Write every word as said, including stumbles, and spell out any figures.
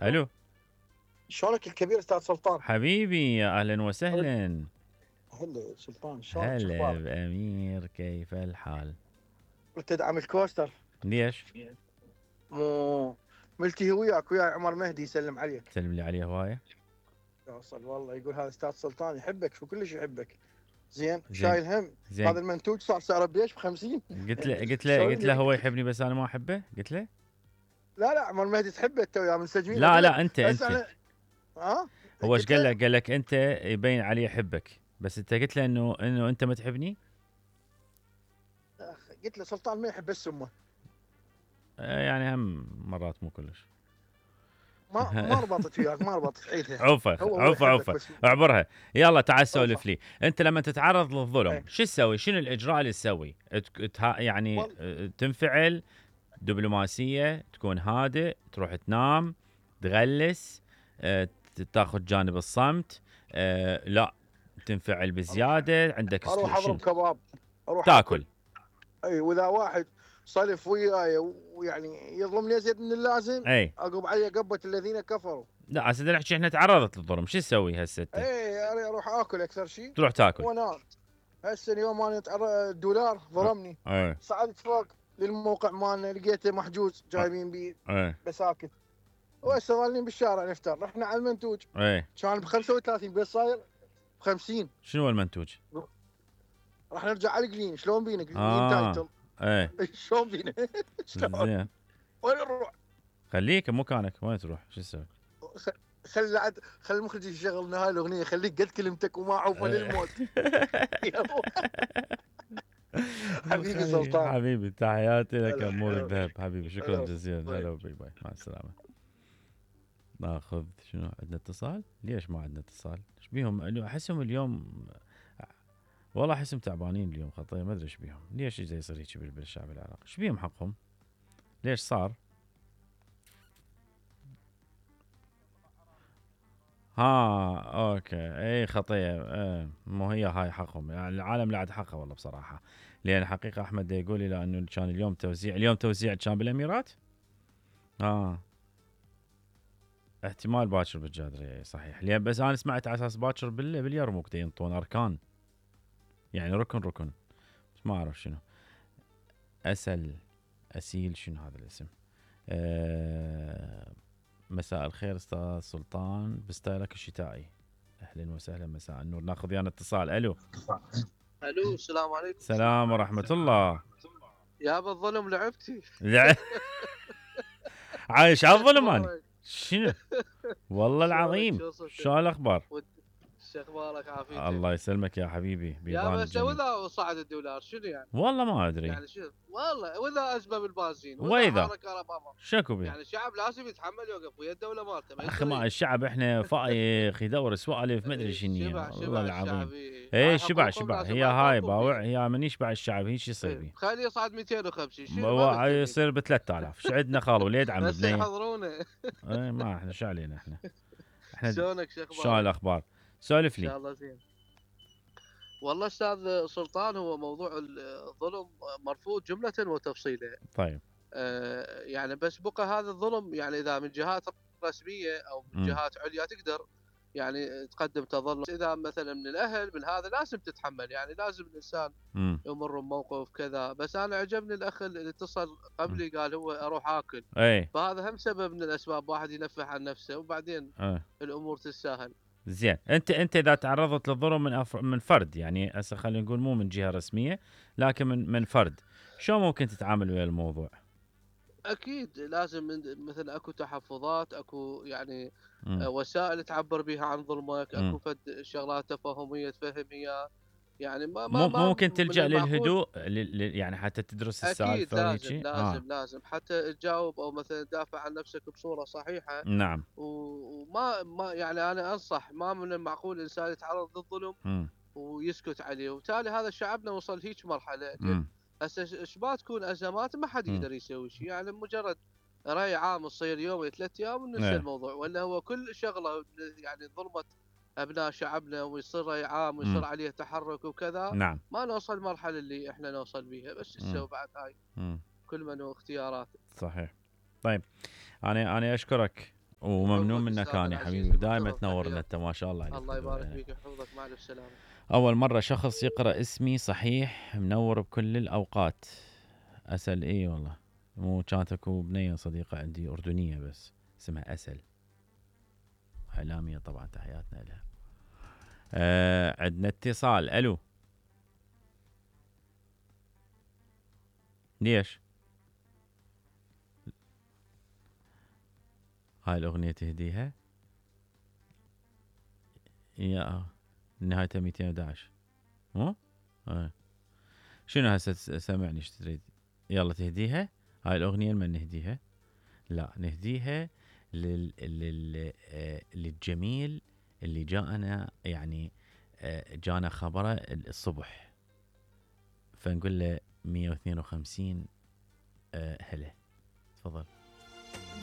الو شلونك الكبير استاذ سلطان؟ حبيبي يا اهلا وسهلا. هلا سلطان، شلونك؟ هلا شخبارك؟ بامير، كيف الحال؟ تدعم الكوستر؟ ليش؟ مو ملتهي وياك ويا عمر مهدي يسلم عليك. سلم لي عليه هوايه. يوصل والله، يقول هذا استاذ سلطان يحبك، شو كلش يحبك. زين زين شايل هم. زين. هذا المنتوج صار سعره بيش ب خمسين. قلت له قلت له قلت له هو يحبني بس انا ما احبه، قلت له لا لا عمر مهدي تحبه تو يا منسجمين. لا لا انت بس انت انا ها هو ايش قلت قال له لك؟ قال لك انت يبين علي يحبك، بس انت قلت له انه انه انت ما تحبني. قلت له سلطان ما يحب بس امه. آه يعني هم مرات مو كلش. ما ما ربطت وياك، ما ربطت عيدها. عوفه هو هو عوفه يحبك عوفه بس. اعبرها. يلا تعال سولف عوفة. لي. انت لما تتعرض للظلم ايه. شو تسوي؟ شنو الاجراء اللي تسوي؟ تك- تها- يعني والله آه، تنفعل دبلوماسيه، تكون هادئ، تروح تنام، تغلس، آه، ت- تاخذ جانب الصمت، آه، لا تنفعل اروح بزياده، عندك اروح اسلوب شنو اضرب كباب، اروح اكل. تاكل؟ اي واذا واحد صلف وياي ويعني يظلمني ازيد من اللازم، اي اقوم عليه قبه الذين كفروا. لا هسه نحكي احنا تعرضت للظلم، شو تسوي هسه انت؟ اي أنا اروح اكل اكثر شيء تروح تاكل. وانام. هسه اليوم انا تعر- الدولار اه ظلمني. ايه صعدت فوق للموقع مالنا، لقيته محجوز اه جايبين بيه ايه بساكت. وهسه ظالين بالشارع نفتر. رحنا على المنتوج ايه. كان ب خمسة وثلاثين بس صاير ب خمسين. شنو هو المنتوج؟ راح نرجع على القليم. شلون بينا قليم اه تايتل؟ ايه شلون بينا؟ شلون؟ زين. وين نروح؟ خليك بمكانك، وين تروح؟ شو تسوي؟ خ- خل عد خل المخرج يشغل لنا هاي الاغنيه، خليك قد كلمتك وما عوفه للموت. حبيبي خليك سلطان. حبيبي، تحياتي لك هلا امور هلا الذهب حبيبي، شكرا هلا. جزيلا. هلا طيب. وباي باي، مع السلامه. ناخذ شنو عندنا اتصال؟ ليش ما عندنا اتصال؟ ايش بيهم؟ احسهم اليوم والله احسهم تعبانين اليوم خطيه، ما ادري ايش بيهم، ليش اجى يصير هيك بالشعب العراقي؟ ايش بيهم حقهم؟ ليش صار؟ ها اوكي اي خطيه. ايه مو هي هاي حقهم، يعني العالم لا عاد حقه والله بصراحه. لان حقيقه احمد يقول لي لانه كان اليوم توزيع، اليوم توزيع كان بالاميرات. اه احتمال باكر بالجادريه صحيح، لان بس انا سمعت على اساس باكر بال باليرموك ينطون اركان، يعني ركن ركن، بس ما اعرف شنو. اسل اسيل شنو هذا الاسم؟ آه مساء الخير استاذ سلطان بستايلك الشتائي. اهلا وسهلا، مساء النور. ناخذ ويانا اتصال. الو الو السلام عليكم. سلام ورحمه الله. يا بالظلم لعبتي. لا عايش على الظلم انا. شخبارك؟ شنو والله شلونك؟ العظيم. شو صرت؟ شو الاخبار؟ ود- شخبارك عافيتك؟ الله يسلمك يا حبيبي، يا بيضان بس الجميل. واذا صعد الدولار شنو يعني؟ والله ما ادري. يعني شو والله واذا ازمه بالبنزين واذا واذا حركه اوباما، شكو بيه؟ يعني الشعب لازم يتحمل يوقف ويا الدوله مالته ما اخي ما يصير. الشعب احنا فايخ يدور سوالف ما ادري إيه، شنو شبع والله شبع العظيم. الشعب. إيه. ايه هاي شبع حقوقهم شبع، لازم هي ما هاي يطالبون باوع، بيها. هي من يشبع الشعب هيك يصير إيه. بيه. خليه يصعد مئتين وخمسين شنو ما بوا- مهتمين. يصير ب ثلاثة آلاف. شو عندنا خال ولي يدعم بس بنيه؟ يحضرونه. ايه ما احنا شو علينا احنا. احنا شلونك؟ شو شو اخبارك؟ الاخبار؟ سولف ان لي. شاء الله زين. والله استاذ سلطان، هو موضوع الظلم مرفوض جملة وتفصيلا. طيب. آه يعني بس بقى هذا الظلم، يعني اذا من جهات رسمية او من امم جهات عليا تقدر يعني تقدم تظلم. اذا مثلا من الاهل من هذا لازم تتحمل، يعني لازم الانسان امم يمر بموقف كذا. بس انا عجبني الاخ اللي اتصل قبلي قال هو اروح اكل، ايه فهذا هم سبب من الاسباب واحد ينفح عن نفسه وبعدين ايه الامور تتساهل. زين. انت انت اذا تعرضت للظلم من أف... من فرد، يعني هسه خلينا نقول مو من جهه رسميه لكن من من فرد، شو ممكن تتعامل ويا الموضوع؟ اكيد لازم من- مثل اكو تحفظات، اكو يعني امم آه، وسائل تعبر بها عن ظلمك، اكو امم فد شغلات تفاهميه تفهم اياه. يعني ما ما مو ما ممكن من تلجأ المعقول. للهدوء ل... ل... يعني حتى تدرس اكيد السالفه لازم وهيجي؟ اه لازم لازم حتى تجاوب او مثلا تدافع عن نفسك بصوره صحيحه. نعم. و- وما ما يعني انا انصح ما من المعقول الانسان يتعرض للظلم امم ويسكت عليه، وبالتالي هذا شعبنا وصل هيك مرحله. لان امم هسه ايش ما تكون ازمات ما حد امم يقدر يسوي شيء، يعني مجرد راي عام تصير يوم ولا ثلاث ايام وننسى ايه الموضوع. ولا هو كل شغله يعني ظلمت ابناء شعبنا ويصير راي عام ويصير امم عليه تحرك وكذا، نعم. ما نوصل المرحله اللي احنا نوصل بيها. بس امم تسوي بعد هاي امم كل من واختياراته. صحيح. طيب انا انا اشكرك وممنون يحفظك منك أستاذ كان يا العزيز حبيبي، ودائما المحترم، تنورنا تحياتي. انت ما شاء الله عليك. الله يبارك فيك ويحفظك، مع الف سلامه. اول مره شخص يقرا اسمي صحيح، منور بكل الاوقات. اسل اي والله، مو كانت اكو بنيه صديقه عندي اردنيه بس اسمها اسل، اعلاميه طبعا، تحياتنا لها. آه عندنا اتصال. الو، ليش هاي الاغنيه تهديها؟ يا نهايتها مئتين وأحد عشر مو؟ آه. شنو هسه سامعني ايش تريد؟ يلا تهديها هاي الاغنيه، لمن نهديها؟ لا نهديها لل... لل... آه، للجميل اللي جاءنا، يعني آه، جانا خبره الصبح، فنقول له مئة واثنين وخمسين آه، هلا. تفضل.